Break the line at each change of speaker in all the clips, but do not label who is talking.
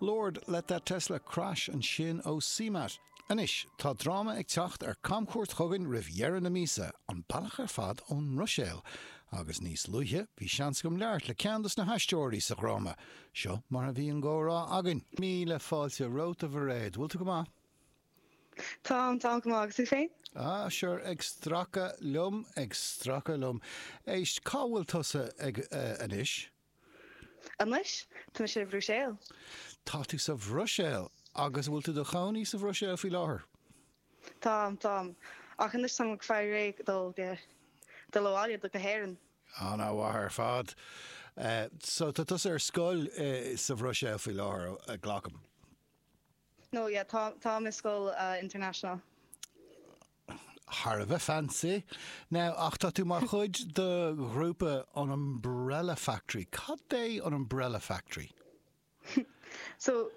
Lord, Let That Tesla Crash ansin ó CMAT. Anois, tá dráma ag teacht ar camchuairt chugainn roimh dheireadh na míosa, an bealach ar fad ón mBruiséil. Agus níos luaithe, bhí seans agam labhairt le ceann dos na haisteoirí sa dhráma. Seo mar a bhí an gcomhrá againn. Míle fáilte romhat, a Mhairéad. Bhfuil tú go maith?
Táim, táim go maith. Agus tú féin?
Ah, sure, ag stracadh liom, ag stracadh liom. Éist, cá bhfuil tusa ag, eh, anois?
Anois, tá mise sa Bhruiséil.
Tá tú sa Bhruiséil! Agus an bhfuil tú i do chónaí sa Bhruiséil faoi láthair?
Táim, táim. Ach anois táim ag fáil réidh dul go, dul abhaile go hÉirinn.
Ana-mhaith ar fad. So tá tusa ar scoil sa Bhruiséil faoi láthair, glacaim?
No, yeah, tá, táim i scoil international.
Thar a bheith fancy. Now, ach tá tú mar chuid de ghrúpa an Umbrella Factory. Cad é an Umbrella Factory?
So,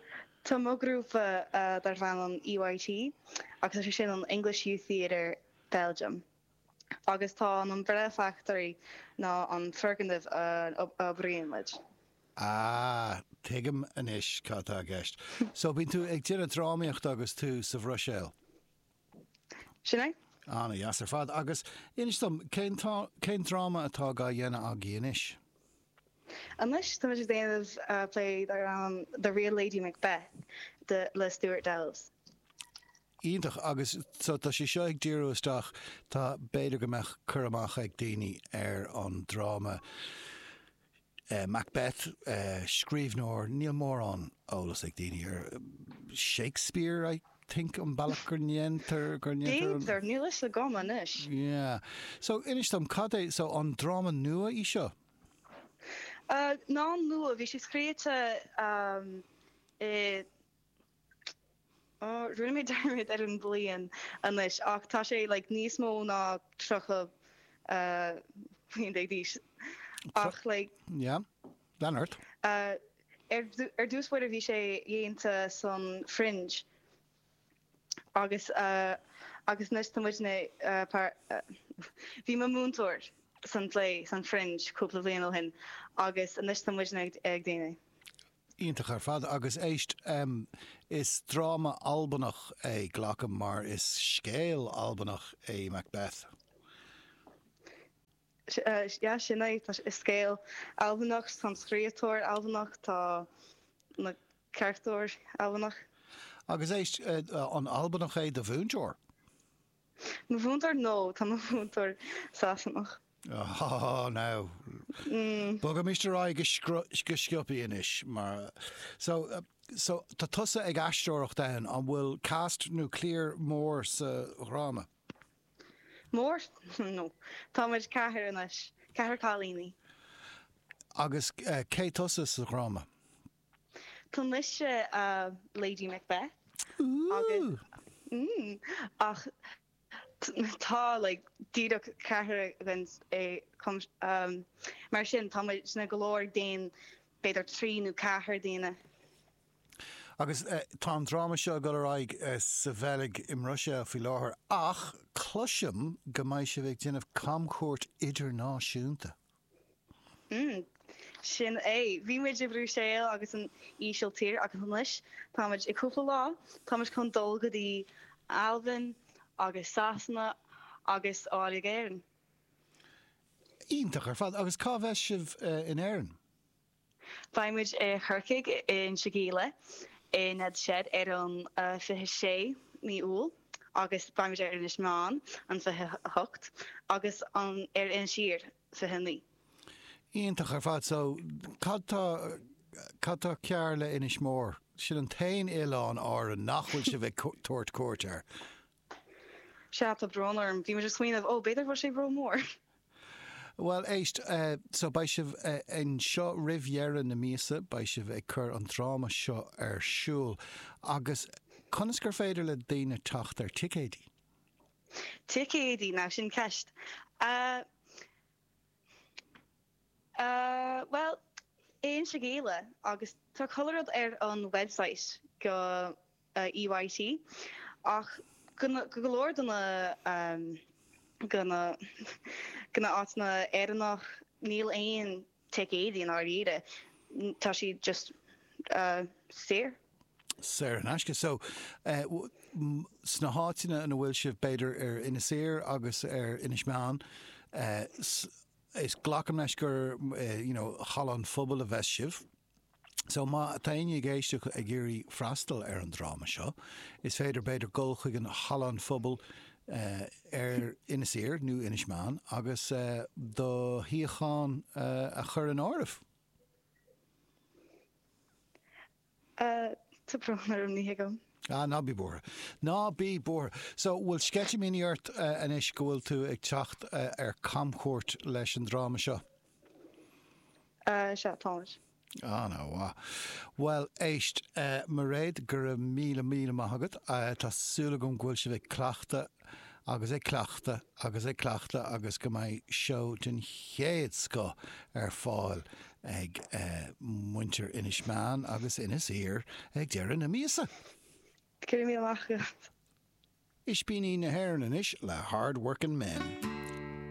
tá mo ghrúpa darb ainm EYT agus tá sé sin an English Youth Theatre Belgium. Agus tá an Umbrella Factory ná an foirgneamh a oibríonn muid.
Ah, tuigim anois cad tá i gceist. So, bíonn tú ag déanamh drámaíochta agus tú sa Bhruiséil?
Sin é.
Ana-dheas ar fad. Agus inis dom, cén cén dráma atá á dhéanamh agaibh anois?
Anois, tá muid ag déanamh play darb ainm The Real Lady Macbeth de le Stuart Delves.
Iontach. Agus so tá sé seo ag díriú isteach, tá, b'fhéidir go mbeadh cur amach ag daoine ar an dráma Macbeth, scríbhneoir, níl mórán eolas ag daoine ar Shakespeare, I think, an bealach go ndéantar, go ndéantar
an. B'fhéidir, níl fhios agam anois.
Yeah. So, inis dom, cad é, so an dráma nua í seo?
Ná nua, bhí sé scríte i. Rinne mé dearmad ar an bhliain anois ach tá sé like níos mó ná 30 bliain déag d'aois ach like.
Yeah, lean ort.
Ar ar dtús báire bhí sé dhéanta san Fringe agus agus anois tá muidne bhí mo múinteoir san play san Fringe cúpla bliain ó shin agus anois tá muidne ag déanamh.
Iontach ar fad. Agus éist, is dráma Albanach é, glacaim, mar is scéal Albanach é Macbeth.
Yeah, sin é. Tá, is scéal Albanach, tá an scríobhtóir Albanach, tá na carachtair Albanach.
Agus éist, an Albanach é do mhúinteoir?
Mo mhúinteoir? No, tá mo mhúinteoir Sasanach.
Oh, now. Bogaimis ar aghaidh go go sciobtha anois mar so so tá tusa ag aisteoireacht ann, an bhfuil cast nó cliar mór sa dhráma?
Mór? No. Tá muid ceathrar anois, ceathrar cailíní.
Agus cé tusa sa dhráma?
Tá mise Lady Macbeth agus ach tá like díreach ceathrar againn é mar sin tá muidne go leor ag déanamh b'fhéidir trí nó ceathair daoine.
Agus tá an dráma seo ag dul ar aghaidh sa Bheilg i mBruiséil faoi láthair ach cloisim go mbeidh sibh ag déanamh camchuairt idirnáisiúnta.
Mm. Sin é. Bhí muid i Bhruiséil agus an Ísiltír agus anois tá muid i cúpla lá, tá muid chun dul go dtí Albain agus Sasana agus abhaile go Éirinn.
Iontach ar fad. Agus cá bheas sibh in Éirinn?
Beidh muid i Chorcaigh i Inse Gile i Ned's Shed ar an 26 mí Iúil agus beidh muid ar Inis Meáin an 28 agus an ar Inis Oírr 29.
Iontach ar fad. So, cad tá, cad tá cearr le Inis Mór? Sin an t-aon oileán Árann nach bhfuil sibh ag tabhairt cuairt air.
Sea, tá brón orm. Bhí muid ag smaoineamh, ó, b'fhéidir go bhfuil sé ró-mhór.
Bhuel, éist, so beidh sibh anseo roimh dheireadh na míosa, beidh sibh ag cur an dráma seo ar siúl. Agus conas gur féidir le daoine teacht ar ticéidí?
Ticéidí, now sin ceist. Uh, uh, bhuel, Inse Gile agus tá chuile rud ar an website go EYT ach go go leor de na go na go na áiteanna Éireannach níl aon ticéidí i ndáiríre. Tá siad just. Saor.
Saor in aisce. So, sna háiteanna ina bhfuil sibh, b'fhéidir ar Inis Oírr agus ar Inis Meáin, is glacaim leis gur, you know, halla an phobail a bheas sibh. So, má tá éinne ag éisteacht ag iarraidh freastal ar an dráma seo, is féidir, b'fhéidir, dul chuig an halla an phobail ar Inis Oírr nó Inis Meáin agus do shuíochán a chur in áirithe.
Tá brón orm, ní thuigim.
Ah, ná bí buartha. Ná bí buartha. So, bhfuil sceitimíní ort anois go bhfuil tú ag teacht ar camchuairt leis an dráma seo?
Sea, táimid.
An-mhaith. Bhuel, éist, Mairéad, go raibh míle míle maith agat. Tá súil agam go bhfuil sibh ag cleachtadh agus ag cleachtadh agus ag cleachtadh agus go mbeidh seó den chéad scoth ar fáil ag muintir Inis Meáin agus Inis Oírr ag deireadh na míosa.
Go raibh míle maith agat.
Ispíní na hÉireann anois le Hard Workin' Men.